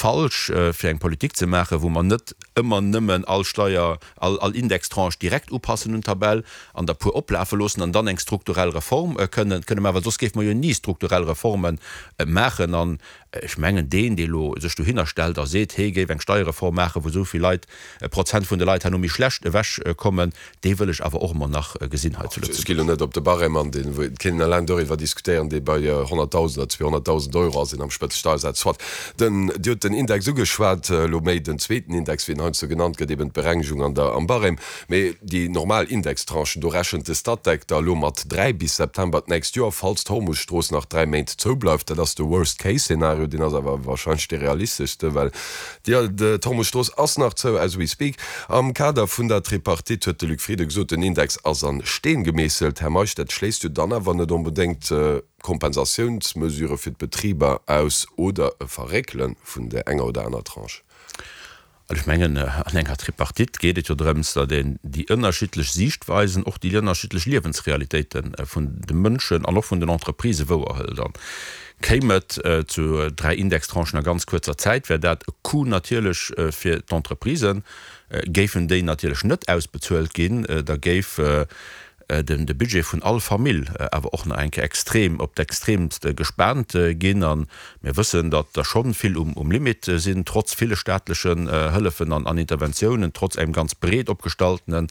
Falsch, fir eng Politik ze maachen, wou mer net ëmmer nëmmen all Steier, all, all Indextranche direkt upassen un d'Tabell an der puer oplafe loossen an dann eng strukturell Reform kënnen, kënne maachen, well soss géife mer jo ni strukturell Reforme maachen. An ech mengen, deen, dee elo sech dohinner stellt a seet, hee géif eng Steierreform maachen, wou esou vill Leit, Prozent vun de Leit herno méi schlecht ewechkommen, Dee wëll ech awer och emol nach gesinn hei zu Lëtzebuerg. Ech gi lo net op de Barème an, deen, et kéint een eleng doriwwer diskutéieren, dee bei 100.000 oder 200.000 Euro ass, een am Spëtzesteiersaz. Soit. Den, Dir hutt den Index ugeschwat, elo méi den zweeten Index, wéi en heiansdo genannt gëtt, eben d'Berengegung an der, am Barème. Mee déi normal Indextranchen, do rechent de Statec da elo mat 3 bis September d'nächst Joer, falls d'Hormusstrooss nach 3 Méint zoubleift. Dat ass de Worst-Case-Szenario, deen ass awer wahrscheinlech dee realisteschste, well D'Hormus-Strooss ass nach zou, as we speak. Am Kader vun der Tripartite huet de Luc Frieden gesot, den Index ass an Steen gemeesselt. Här Meisch, dat schléisst jo dann awer net onbedéngt Kompensatiounsmesurë fir d'Betriber aus oder e Verréckele vun där enger oder aner Tranche. Also ech mengen, an enger Tripartite geet et jo drëms, datt een déi ënnerschiddlech Siichtweisen, och déi ënnerschiddlech Liewensrealitéite vun de Mënschen an och vun den Entreprisë wouerhëlt. An Kéim et zu 3 Indextranchen a ganz kuerzer Zäit, wär dat e Coup natierlech fir d'Entreprisen. Géifen déi natierlech net ausbezuelt ginn, da géif de Budget vun all Famill awer och nach eng Kéier extrem op d'Extreemst gespaant ginn. A mir wëssen, datt der scho vill um Limit sinn, trotz ville staatlechen Hëllefen an Interventiounen, trotz engem ganz breet opgestaltene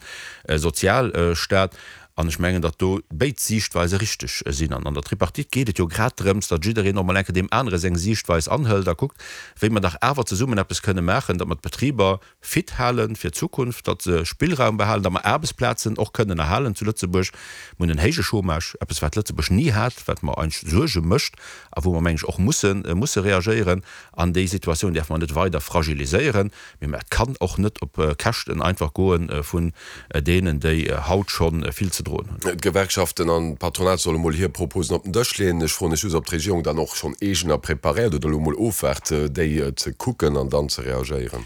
Sozialstaat. An ech mengen, datt do béid Siichtweise richteg sinn. An an der Tripartite geet et jo grad drëms, datt jiddereen och mol eng Kéier deem anere seng Siichtweis anhëlt a kuckt, wéi mer dach awer zesummen eppes kënne maachen, datt mer d'Betriber fit hale fir d'Zukunft, datt se Spillraum behalen, datt mer Aarbechtsplazen och kënnen erhalen zu Lëtzebuerg. Mir hunn en héije Chômage, eppes wat Lëtzebuerg ni hat, wat mer eigentlech Suerge mécht a wou mer, meng ech, och musse musse reagéieren. An déi Situatioun däerfe mer net weider fragiliséieren. Mee et kann och net op Käschten einfach goe vun deenen, déi haut scho vill ze droen hunn. D'Gewerkschaften an d'Patronat solle mol hir Proposen op den Dësch leeën. Ech froen lech just, ob d'Regierung dann och schonn eegener preparéiert oder elo mol ofwaart, déi ze kucken an dann ze reagéieren.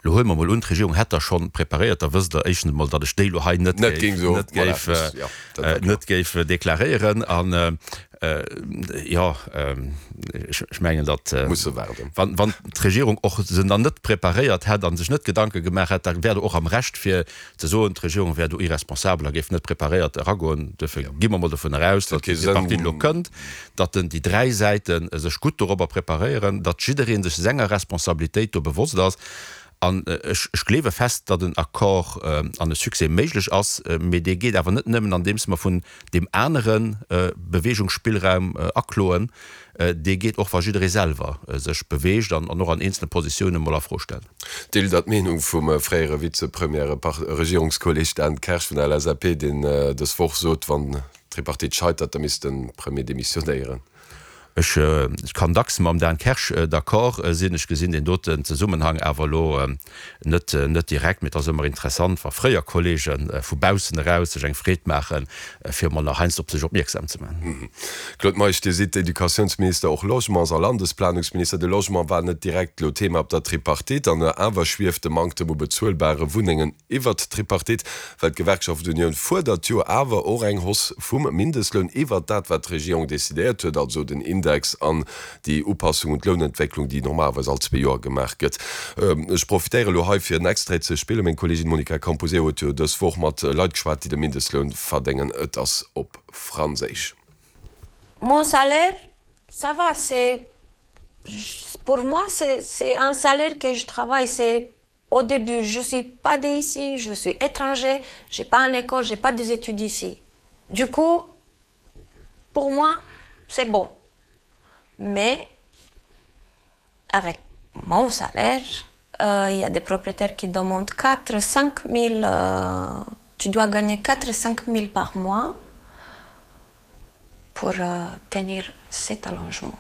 Elo huele mer mol un, d'Regierung hätt der schonn preparéiert, da wësst Der éischtens emol, datt ech déi elo hei net géif, net géif deklaréieren. An jo, ech mengen, datt, wann d'Regierung och se dann net preparéiert hätt a sech net Gedanke gemaach hätt, da wär Der och am Recht fir ze soen, d'Regierung wär do irresponsabel a géif net preparéiert eragoen. Duerfir gi mer mol dovun eraus, datt déi Tripartite elo kënnt, datt déi dräi Säite sech gutt dorobber preparéieren, datt jidderee sech senger Responsabilitéit do bewosst ass. An ech gleewe fest, datt en Accord an e Succès méiglech ass, mee dee geet awer net nëmmen andeems mer vun deem anere Beweegungsspillraum akloen, dee geet och wa jidderee selwer sech beweegt an och an eenzele Positiounen mol a Fro stellt. Deelt Der d'Meenung vum fréiere Vizepremier a Regierungskolleg Dan Kersch vun der LSAP, deen dës Woch sot, wann d'Tripartite scheitert, da misst de Premier demissionéieren? Ech kann dacks mam Dan Kersch d'accord sinn. Ech gesinn deen doten Zesummenhang awer elo net net direkt. Mee et ass ëmmer interessant, wa fréier Kollege vu baussen eraus sech eng Freed maachen, fir emol nach heiansdo op sech opmierksam ze maachen. Claude Meisch, Dir sidd Educatiounsminister, och Logements a Landesplanungsminister. De Logement war net direkt elo Thema op der Tripartite an awer schwieft de Manktem u bezuelbare Wunnengen iwwert d'Tripartite, well d'Gewerkschaft Unioun fuerdert jo awer och eng Hausse vum Mindestloun iwwert dat, wat d'Regierung decidéiert huet, also den Index an déi Upassung un d'Lounentwécklung, déi normalerweis all zwee Joer gemaach gëtt. Ech profitéiere elo hei, fir en Extrait ze spillen. Meng Kolleegin Monica Camposeo huet jo dës Woch mat Leit geschwat, déi de Mindestloun verdéngen. Et ass op Franséisch. Mon salaire, ça va, c'est, pour moi, c'est un salaire que je travaille, c'est Au début, je suis pas d'ici, je suis étranger, j'ai pas une école, j'ai pas des études ici. Du coup, pour moi, c'est bon. Mais avec mon salaire, euh, il y a des propriétaires qui demandent 4, 5 000, euh, tu dois gagner 4, 5 000 par mois pour euh, tenir cet allongement.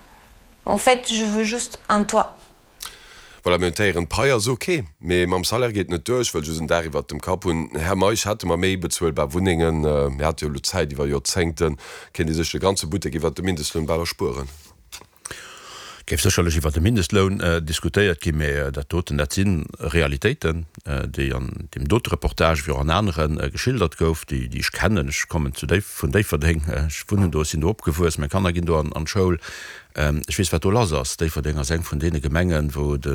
En fait, je veux juste un toit. Voilà, mir hunn d'Héieren, d'Pai ass ok, mee mam Salaire geet net duer. Ech wëll just en Daach iwwert dem Kapp hunn. Här Meisch, hätte mer méi bezuelbar Wunnengen, mir hate jo elo Zäit iwwer Joerzéngten, kéint ee sech de ganze Buttek iwwert de Mindestloun bal erspueren. Géif sécherlech iwwert de Mindestloun diskutéiert ginn, mee dat doten, dat si Realitéiten, déi an deem dote Reportage wéi och an anere geschildert gouf, déi ech kennen. Ech kommen zu Déif, vun Déifferdeng, ech wunnen do, ech sinn do opgewuess, meng Kanner ginn do an d'Schoul. Ech weess, wat do lass ass. Déifferdeng ass eng vun deene Gemengen, wou de.